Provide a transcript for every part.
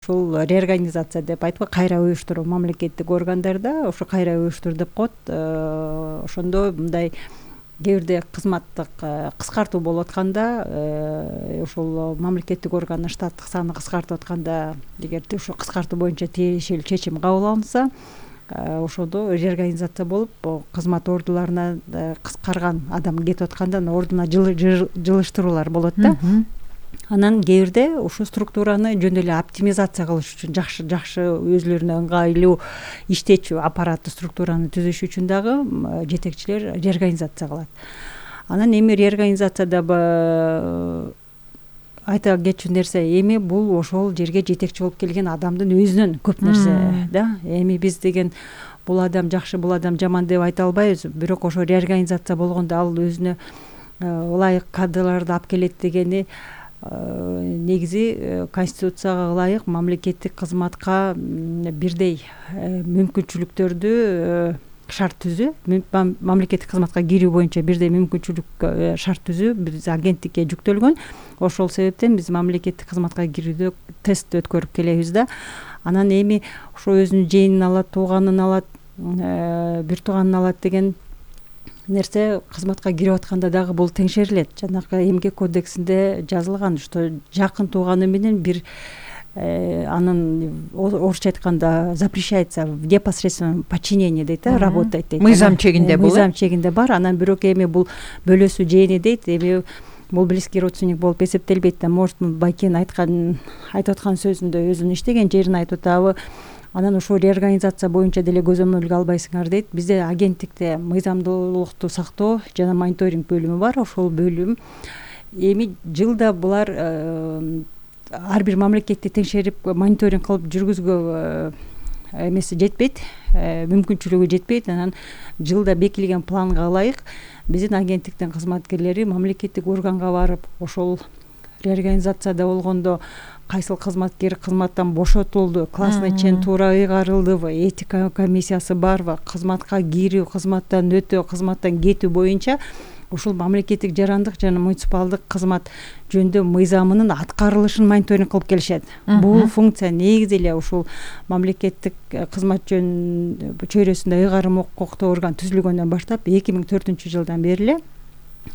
ушул реорганизация деп айтпайбы, кайра уюштуруу мамлекеттик органдарда ошо кайра уюштур деп коет. Ошондо мындай кээ бирде кызматтык кыскартуу болуп атканда, ушул мамлекеттик органдын штаттык саны кыскартып атканда, эгерде ушул кыскартуу боюнча тиешелүү чечим кабыл алынса, ошондо реорганизация болуп, кызмат ордуларына кыскарган адам кетип атканда анын ордуна жылыштыруулар болот да. Анан кээ бирде ушул структураны жөн эле оптимизация кылыш үчүн, жакшы өзүлөрүнө ыңгайлуу иштечү аппараттуу структураны түзүш үчүн дагы жетекчилер реорганизация кылат. Анан эми реорганизацияда айта кетчү нерсе, эми бул ошол жерге жетекчи болуп келген адамдын өзүнөн көп нерсе да. Эми биз деген бул адам жакшы, бул адам жаман деп айта албайбыз, бирок ошо реорганизация болгондо ал өзүнө ылайык кадрларды алып келет дегени негизи конституцияга ылайык мамлекеттик кызматка бирдей мүмкүнчүлүктөрдү шарт түзүү, мамлекеттик кызматка кирүү боюнча бирдей мүмкүнчүлүк шарт түзүү биз агенттикке жүктөлгөн. Ошол себептен биз мамлекеттик кызматка кирүүдө тест өткөрүп келебиз да. Анан эми ошо өзүнүн жээнин алат, тууганын алат, бир тууганын алат деген нерсе кызматка кирип атканда дагы бул теңшерилет. Жанагы эмгек кодексинде жазылган, что жакын тууганы менен бир анын орусча айтканда запрещается в непосредственном подчинении дейт, работать дейт. Мыйзам чегинде бул. Мыйзам чегинде бар. Анан бирок эми бул бөлөсү жээни дейт. Эми бул близкий родственник болуп эсептелбейт да. Может, байкенин айтып аткан сөзүндө өзүнүн иштеген жерин айтып атабы. Анан ушул реорганизация боюнча деле көзөмөлгө албайсыңар дейт. Бизде агенттикте мыйзамдуулукту сактоо жана мониторинг бөлүмү бар. Ошол бөлүм эми жылда булар ар бир мамлекетти теңшерип мониторинг кылып жүргүзгө эмеси жетпейт, мүмкүнчүлүгү жетпейт. Анан жылда бекилген планга ылайык биздин агенттиктин кызматкерлери мамлекеттик органга барып, ошол реорганизацияда болгондо кайсыл кызматкер кызматтан бошотулду, классный чин туура ыйгарылдыбы, этика комиссиясы барбы, кызматка кирүү, кызматтан өтүү, кызматтан кетүү боюнча ушул мамлекеттик жарандык жана муниципалдык кызмат жөнүндө мыйзамынын аткарылышын мониторинг кылып келишет. Бул функция негизи эле ушул мамлекеттик кызмат чөйрөсүндө ыйгарым укуктуу орган түзүлгөндөн баштап 2004-жылдан бери эле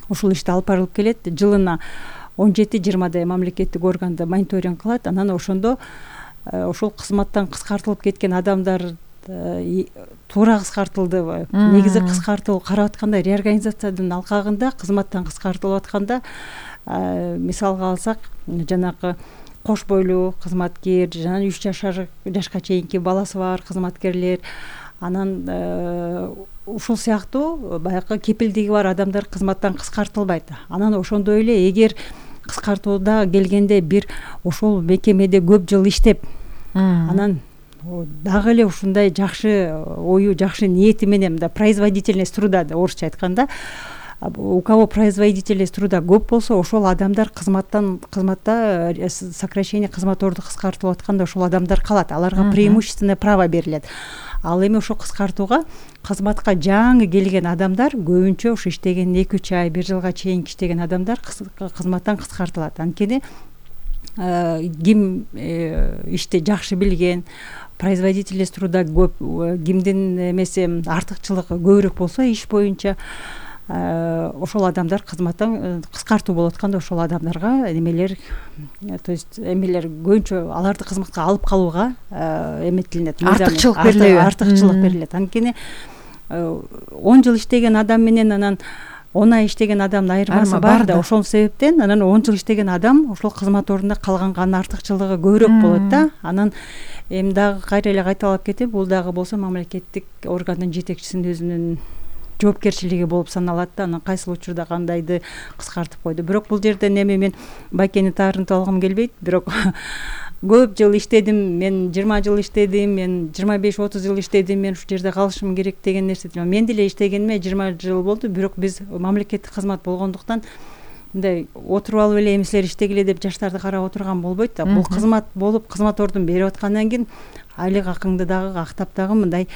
ушул ишти алып барылып келет. Жылына 17-20 мамлекеттик органды мониторинг кылат. Анан ошондо ошол кызматтан кыскартылып кеткен адамдар туура кыскартылдыбы, негизи кыскартуу карап атканда реорганизациянын алкагында кызматтан кыскартылып атканда, мисалга алсак, жанагы кош бойлуу кызматкер, жана 3 жашка чейинки баласы бар кызматкерлер, анан ушул сыяктуу баягы кепилдиги бар адамдар кызматтан кыскартылбайт. Анан ошондой эле эгер кыскартууда келгенде бир ошол мекемеде көп жыл иштеп, анан дагы эле ушундай жакшы ою, жакшы ниети менен мындай производительность труда, орусча айтканда, у кого производительность труда көп болсо, ошол адамдар кызматта сокращение кызмат орду кыскартылып атканда ошол адамдар калат. Аларга преимущественное право берилет. Ал эми ошо кыскартууга кызматка жаңы келген адамдар көбүнчө ушу иштеген 2-3 ай, 1 жылга чейин иштеген адамдар кызматтан кыскартылат. Анткени ким ишти жакшы билген, производительность труда көп, кимдин эмеси артыкчылыгы көбүрөөк болсо иш боюнча, ошол адамдар кызматтан кыскартуу болуп атканда ошол адамдарга немелер, то есть эмелер көбүнчө аларды кызматка алып калууга эметилинет, артыкчылык берилет. Анткени 10 жыл иштеген адам менен анан 10 ай иштеген адамдын айырмасы бар да. Ошол себептен анан 10 жыл иштеген адам ошол кызмат ордунда калганга анын артыкчылыгы көбүрөөк болот да. Анан эми дагы кайра эле кайталап кетип, бул дагы болсо мамлекеттик органдын жетекчисинин өзүнүн жоопкерчилиги болуп саналат да. Анан кайсыл учурда кандайды кыскартып койду. Бирок бул жерден эми мен байкени таарынтып алгым келбейт. Бирок көп жыл иштедим, мен 20 жыл иштедим, мен 25-30 жыл иштедим, мен ушул жерде калышым керек деген нерсе. Мен деле иштегениме 20 жыл болду, бирок биз мамлекеттик кызмат болгондуктан мындай отуруп алып эле эмисилер иштегиле деп жаштарды карап отурган болбойт да. Бул кызмат болуп, кызмат ордун берип аткандан кийин айлык акыңды дагы актап дагы мындай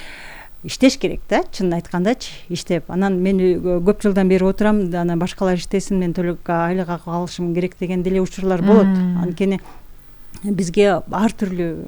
иштеш керек да, чынын айткандачы, иштеп. Анан мен көп жылдан бери отурам, анан башкалар иштесин, мен төлөп айлык акы алышым керек деген деле учурлар болот. Анткени бизге ар түрлүү